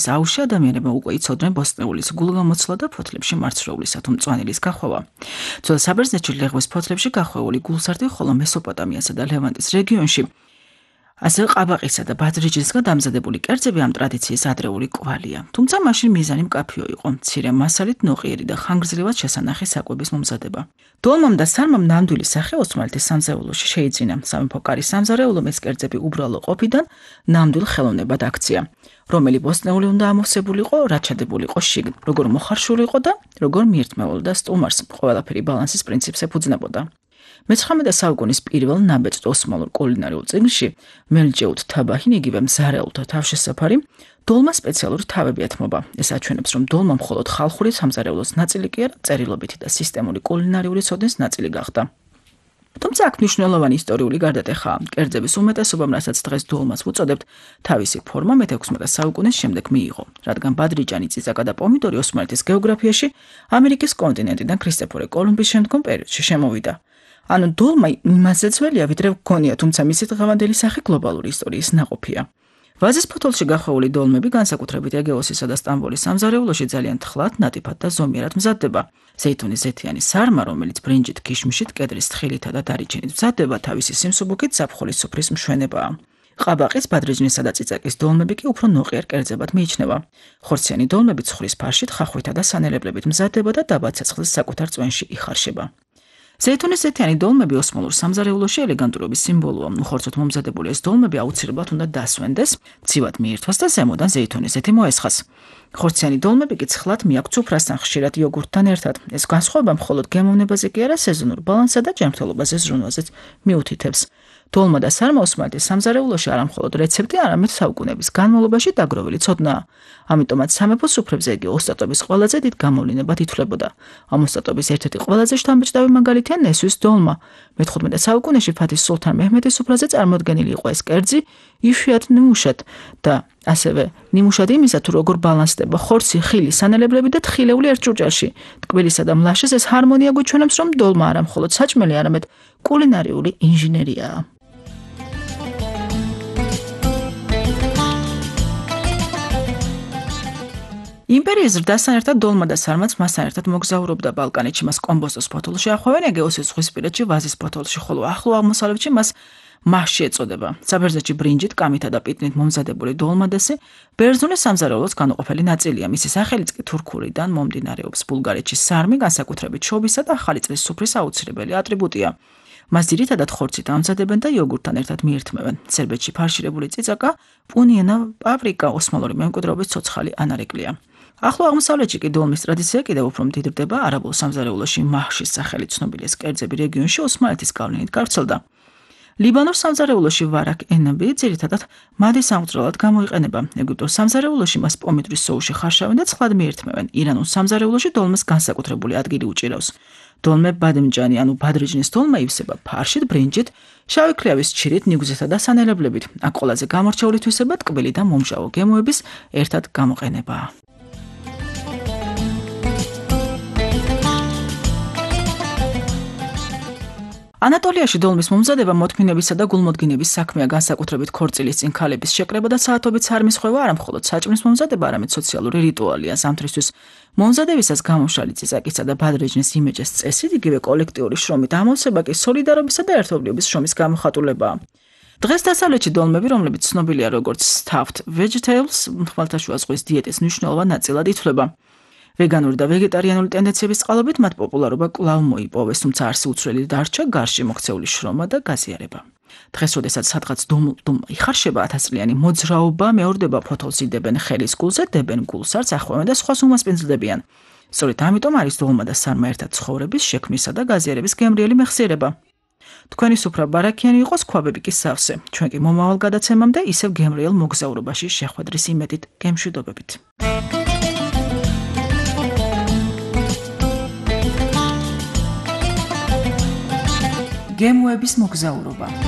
აუში ადამიანებმა უკვე იცოდნენ ბოსტნეულის გულგამოცვლა და ფოთლებში მარცვლეულისა თუ მწვანილის გახვევა. ძველ საბერძნეთში ლეღვის ფოთლებში გახვეული გულსარდი, ხოლო მესოპოტამიასა და ლევანტის რეგიონში ასევე ყაბაყისა და ბადრიჯისგან დამზადებული კერძები ამ ტრადიციის ადრეული კვალია. თუმცა მაშინ მიზანი მკაფიო იყო, მცირე მასალით ნოყიერი და ხანგრძლივად შესანახი საკვების მომზადება. დოლმამ და სარმამ ნამდვილი სახე ოსმალეთის სამზარეულოში შეიძინა. სამეფო კარის სამზარეულომ ეს კერძები უბრალო ყოფიდან ნამდვილ ხელოვნებად აქცია, რომელი ბოსტნეული უნდა ამოვსებულიყო, რაც ჩადებულიყო შიგნ, როგორ მოხარშული იყო და როგორ მიირთმეულდა სტუმარს, ყველაფერი ბალანსის პრინციპს ეფუძნებოდა. მე-19 საუკუნის პირველ ნაბეჭდ ოსმალურ კულინარიულ წიგნში მელჯეუთ თაბაჰინ იგივე მზარეულთა თავშესაფარი დოლმა სპეციალური თავები ეთმობა. ეს აჩვენებს, რომ დოლმა მხოლოდ ხალხური სამზარეულოს ნაწილი კი არა, წერილობითი და სისტემური კულინარიული ცოდნის ნაწილი გახდა. თუმცა აქ მნიშვნელოვანი ისტორიული გარდატეხაა. კერძების უმეტესობამ, რასაც დღეს დოლმას ვუწოდებთ, თავისი ფორმა მე-16 საუკუნის შემდეგ მიიღო, რადგან ბადრიჯანი, წიწაკა და პომიდორი ოსმალეთის გეოგრაფიაში ამერიკის კონტინენტიდან ქრისტეფორე კოლუმბის შემდგომ პერიოდში შემოვიდა. ანუ დოლმა იმაზე ძველია, ვიდრე გქონია, თუმცა მისი დღევანდელი სახე გლობალური ისტორიის ნაყოფია. ვაზის ფოთოლში გახვეული დოლმები განსაკუთრებით ეგეოსისა და სტამბოლის სამზარეულოში ძალიან თხლად, ნატიფად და ზომიერად მზადდება. ზეითუნის ზეთიანი სარმა, რომელიც ბრინჯით, ქიშმიშით, კედრის თხილითა და დარიჩინით მზადდება, თავისი სიმსუბუქით ზაფხულის სუფრის მშვენებაა. ყაბაყის, ბადრიჯნისა და წიწაკის დოლმები კი უფრო ნოყიერ კერძებად მიიჩნევა. ხორციანი დოლმები ცხრის ფარშით, ხახვითა და სანელებლებით მზადდება და დაბა ცეცხლის საკუთარ წვენში იხარშება. ზეითუნის ზეთიანი დოლმები ოსმალურ სამზარეულოში ელეგანტურობის სიმბოლოა. უხორცოდ მომზადებული ეს დოლმები აუცილებლად უნდა დასვენდეს, მცივად მიირთვას და ზემოდან ზეითუნის ზეთი მოესხას. ხორციანი დოლმები კი ცხლად მიაქვთ უფრასთან, ხშირად იოგურტთან ერთად. ეს განსხვავება მხოლოდ გემოვნებაზე კი არა, სეზონურ ბალანსსა და ჯანმრთელობაზე ზრუნვაზეც მიუთითებს. დოლმა და სარმა ოსმალეთის სამზარეულოში არა მხოლოდ რეცეპტი, არამედ საუკუნეების განმავლობაში დაგროვილი ცოდნაა. ამიტომაც სამეფო სუფრებზე იგი ოსტატობის ყველაზე დიდ გამოვლინებად ითვლებოდა. ამ ოსტატობის ერთ-ერთი ყველაზე შთამბეჭდავი მაგალითია ნესვის დოლმა. მე-15 საუკუნეში ფათის სულთან მეჰმედის სუფრაზე წარმოდგენილი იყო ეს კერძი იშვიათ ნიმუშად და ასევე ნიმუშად იმისა, თუ როგორ ბალანსდება ხორცი, ხილი, სანელებლები და თხილეული ერთ ჭურჭელში. ტკბილისა და მლაშეს ეს ჰარმონია გვიჩვენებს, რომ დოლმა არა მხოლოდ საჭმელი, არამედ კულინარიული ინჟინერიაა. იმპერიის ზრდასთან ერთად დოლმა და სარმაც მასთან ერთად მოგზაურობდა ბალკანეთში, მას კომბოსტოს ფოთოლში ახვევენ, ეგეოსის ზღვისპირეთში, ვაზის ფოთოლში, ხოლო ახლო აღმოსავლეთში მას მასში ეწოდება. საბერძნეთში ბრინჯით, კამითა და პიტნით მომზადებული დოლმადესი ბერძნულის სამზარეულოს განუყოფელი ნაწილია. მისი სახელიც კი თურქულიდან მომდინარეობს. ბულგარეთში სარმი განსაკუთრებით შობისა და ახალი წლის სუფრის აუცილებელი ატრიბუტია. მას ძირითადად ხორცით ამზადებენ და იოგურტთან ერთად მიირთმევენ. სერბეთში ფარშირებული წიწაკა, პუნიენა, პავრიკა, ოსმალური მემკვიდრეობის ცოცხალი ანარეკლია. ახლო აღმოსავლეთში კი დოლმის ტრადიცია კიდევ უფრო მდიდრდება. არაბულ სამზარეულოში მაჰშის სახელით ცნობილი ეს კერძები რეგიონში ოსმალეთის გავლენით გავრცელდა. ლიბანურ სამზარეულოში ვარაკ ენები ძირითადად მადის ამღვრელად გამოიყენება. ეგვიპტურ სამზარეულოში მას პომიდრის სოუში ხარშავენ და ცხლად მიირთმევენ. ირანულ სამზარეულოში დოლმას განსაკუთრებული ადგილი უჭირავს. დოლმე ბადემჯანი, ანუ ბადრიჯნის დოლმა ივსება ფარშით, ბრინჯით, შავი ქლიავის ჩირით, ნიგვზითა და სანელებლებით. აქ ყველაზე გამორჩეული თვისება ტკბილი და მომჟავო გემოების ერთად გამოყენებაა. ანატოლიაში დოლმის მომზადება მოთმინებისა და გულმოდგინების საქმეა, განსაკუთრებით ქორწილის წინ ქალების შეკრება და საათობით სარმის ხვევა არა მხოლოდ საჭმლის მომზადება, არამედ სოციალური რიტუალია. ზამთრისთვის მომზადებისას გამომშრალი წიწაკისა და ბადრიჯნის იმეჯის წესით, იგივე კოლექტიური შრომით ამოვსება კი სოლიდარობისა და ერთობლივობის შრომის გამოხატულებაა. დღეს დასავლეთში დოლმები, რომლებიც ცნობილია როგორც stuffed vegetables, ხმელთაშუა ზღვის დიეტის მნიშვნელოვან ნაწილად ითვლება. ვეგანური და ვეგეტარიანული ტენდენციების წყალობით მათ პოპულარობა კვლავ მოიპოვეს, თუმცა არსი უცვლელი დარჩა გარშემო მოქცეული შრომა და გაზიარება. დღეს, როდესაც სადღაც დოლმა იხარშება, 1000 წლიანი მოძრაობა მეორდება, ფოთოლს იდებენ ხელის გულზე, დებენ გულსარს, ახვევენ და სხვას უმასპინძლდებიან. სწორედ ამიტომ არის დოლმა და სარმა ერთად ცხოვრების, შექმნისა და გაზიარების გემრიელი მეხსიერება. თქვენი სუფრა ბარაქიანი იყოს, ქვაბები კი სავსე. ჩვენ კი მომავალ გადაცემამდე ისევ გემრიელ მოგზაურობაში შეხვედრის იმედით გემშვიდობებით. გემოების მოგზაურობა.